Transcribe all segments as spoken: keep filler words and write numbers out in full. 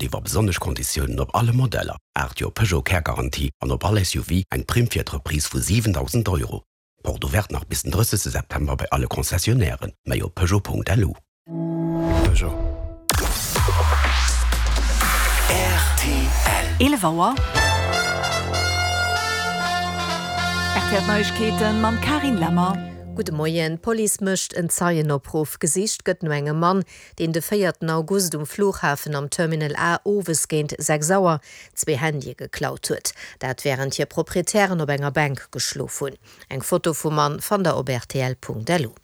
Iwwer besonnesch Konditiounen op alle Modeller, aacht Joer Peugeot Care Garantie an op all S U V eng Primm fir d'Reprise vu siwendausend Euro. Porte ouverte nach bis den drëssegste September bei alle Concessionnairen. Méi op Peugeot Punkt L U. Peugeot. R T L. Eelef Auer. R T L Neiegkeeten mam Carine Lemmer. Gudde Moien. D'Police mécht en Zeienopruff. Gesicht gëtt no engem Mann, deen de véierten August um Flughafen am Terminal A owes géint sechs Auer zwee Handye geklaut huet. Dat wärend hir Proprietären op enger Bänk geschlof hunn. Eng Foto vum Mann fannt der op R T L Punkt L U.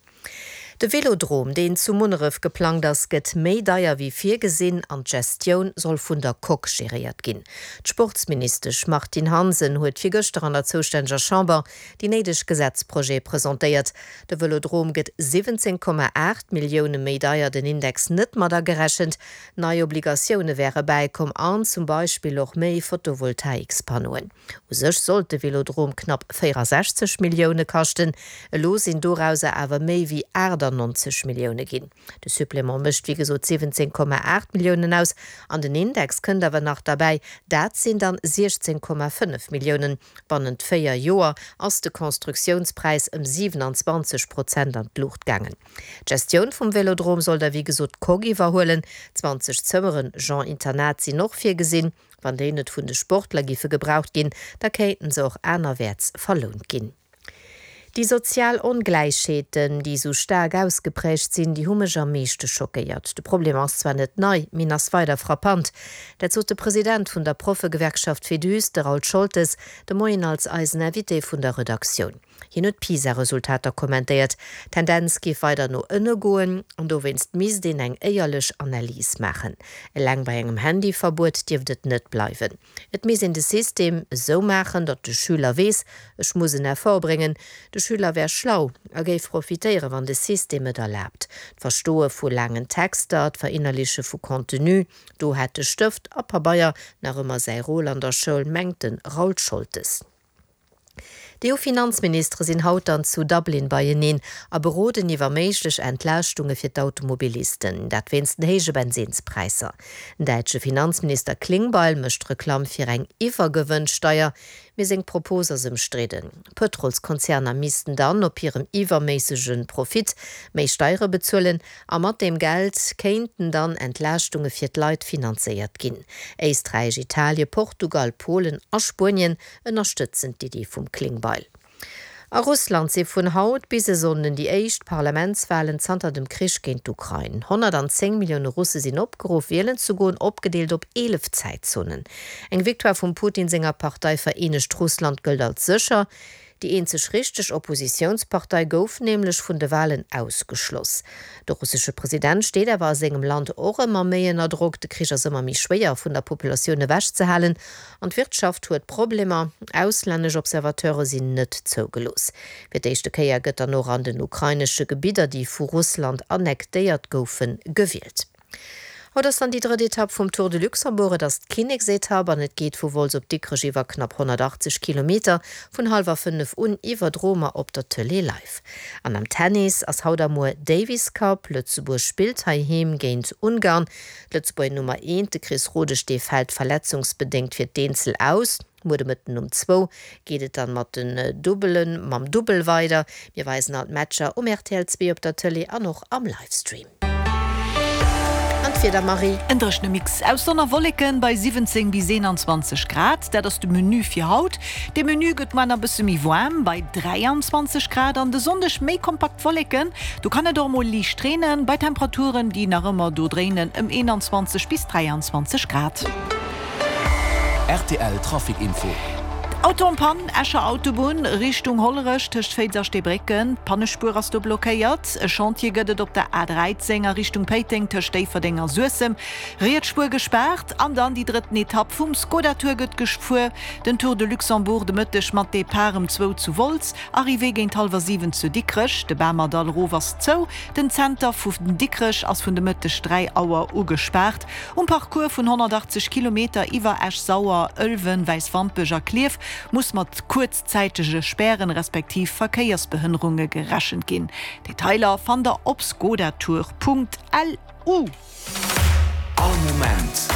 De Velodrom, deen zu Munneref geplangt ass, gëtt méi deier wéi virgesinn an d'Gestioun soll vun der Coque geréiert ginn. D'Sportsministesch Martine Hansen huet virgëschter an der zoustänneger Chamber déi néideg Gesetzprojete presentéiert. De Velodrom gëtt siwwenzéng Komma aacht Millioune méi deier, den Index net mat agerechent. Nei Obligatioune wäre bäikomm an zum Beispill och méi Photovoltaikspannoen. U sech sollt de Velodrom knapp véierasechzeg Millioune kaschten, elo sinn dorauser awer méi wéi aachtannonzeg Millioune ginn. De Supplément mécht wéi gesot siwwenzéng Komma aacht Milliounen aus an den Index kënnt awer nach derbäi, dat sinn dann siechzéng Komma fënnef Milliounen. Bannent véier Joer ass de Konstruktiounspräis ëm siwenanzwanzeg Prozent an d'Luucht gaangen. D'Gestioun vum Velodrom soll da wéi gesot d'Coque iwwerhuelen. zwanzeg Zëmmeren Genre Internat sinn och virgesinn. Wann déi net vun de Sportler géife gebraucht ginn, da kéinten se och anerwäerts verlount ginn. Déi sozial Ongläichheeten, déi sou staark ausgepräägt sinn, déi hu mech am meeschte schockéiert. De Problem ass zwar net nei, mee en ass weider frappant. Dat sot de President vun der Proffegewerkschaft Féduse, de Raoul Scholtes, de Moien als eisen Invité vun der Redaktioun. Hien huet d'PISA-Resultater kommentéiert. D'Tendenz géif weider no ënne goen an dowéinst misst een eng éierlech Analys maachen. Eleng bei engem Handyverbuet dierft et net bleiwen. Et misst een de System esou maachen, datt de Schüler weess, ech muss en Effort bréngen. De Schüler wär schlau a géif profitéieren, wann de System et erlaabt. D'Verstoe vu laangen Texter, d'Verinnerleche vu Contenu, do hätt de Stëft a Pabeier nach ëmmer säi Rôle an der Schoul, mengt de Raoul Scholtes. D'E U-Finanzministere sinn haut dann zu Dublin beieneen a beroden iwwer méiglech Entlaaschtunge fir d'Automobilisten, dat wéinst den héije Bensinnspräisser. Den däitsche Finanzminister Klingbeil mécht Reklamm fir eng Iwwergewënnsteier, mee seng Propos ass ëmstridden. Pëtrolskonzerner missten dann op hirem iwwerméissege Profit méi Steiere bezuelen a mat deem Geld kéinten dann Entlaaschtunge fir d'Leit finanzéiert ginn. Éisträich, Italien, Portugal, Polen a Spuenien ënnerstëtzen d'Iddi vum Klingbeil. A Russland si vun haut bis e Sonnden déi éischt Parlamentswalen zanter dem Krich géint d'Ukrain. honnertzéng Millioune Russe sinn opgeruff, wielen ze goen, opgedeelt op eelef Zäitzonen. Eng Victoire vum Putin senger Partei Vereenegt Russland gëllt als sécher. Déi eenzeg richteg Oppositiounspartei gouf nämlech vun de Walen ausgeschloss. De russesche President steet awer a sengem Land och ëmmer méi ënner Drock. De Krich ass ëmmer méi schwéier vun der Populatioun ewechzehalen an d'Wirtschaft huet Problemer. Auslännesch Observateure sinn net zougelooss. Fir d'éischte Kéier gëtt dann och an den ukrainesche Gebidder, déi vu Russland annektéiert goufen, gewielt. Haut ass dann déi drëtt Etapp vum Tour de Luxembourg. Et ass d'Kinneksetapp an et geet vu Wolz op Dikrech iwwer knapp honnertachtzeg Kilometer vun hallwer fënnef un iwwerdroe mer op der Tëlee live. An am Tennis ass haut a muer Davis Cup. Lëtzebuerg spillt heiheem géint Ungarn. D'Lëtzebuerger Nummer eent, de Chris Rodesch, dee fält verletzungsbedéngt fir d'Eenzel aus. Muer de Mëtten um zwou geet et dann mat den Dubbelen, mam Dubbel weider. Mir weisen all d'Matcher um R T L zwee op der Tëlee an och am Livestream. An d'Wieder, Marie? En dréchene Mix aus Sonn a Wolleken bei siwwenzéng bis eenanzwanzeg Grad, dat ass de Menü fir haut. De Menü gëtt muer nach e bësse méi waarm bei dräianzwanzeg Grad an de Sonndeg méi kompakt Wolleken. Do kann et och mol liicht reenen bei Temperaturen, déi nach ëmmer do dréinen ëm eenanzwanzeg bis dräianzwanzeg Grad. R T L Trafic Info. Auto en panne, Escher Autobunn Richtung Hollerech tëscht Féiz a Steebrécken, d'Pannespuer ass do blockéiert. E Chantier gëtt et op der A dräizéng a Richtung Péiteng tëscht Déifferdeng a Suessem, riets Spuer gespaart. An dann déi drëtten Etapp vum Skoda Tour gëtt gefuer, den Tour de Luxembourg de Mëtteg mat Depart ëm zwou zu Wolz, Arrivée géint hallwer siwen zu Dikrech. De Bamerdall erof ass zou, den Zenter vu Dikrech ass vun de Mëtteg dräi Auer u gespaart. Um Parcours vun honnertachtzeg Kilometer iwwer Esch-Sauer, Ëlwen, Wäiswampech a Klierf muss mat kuerzzäitege Spären respektiv Verkéiersbehënnerunge gerechent ginn. Detailer fannt der op skodatour Punkt L U. All Moment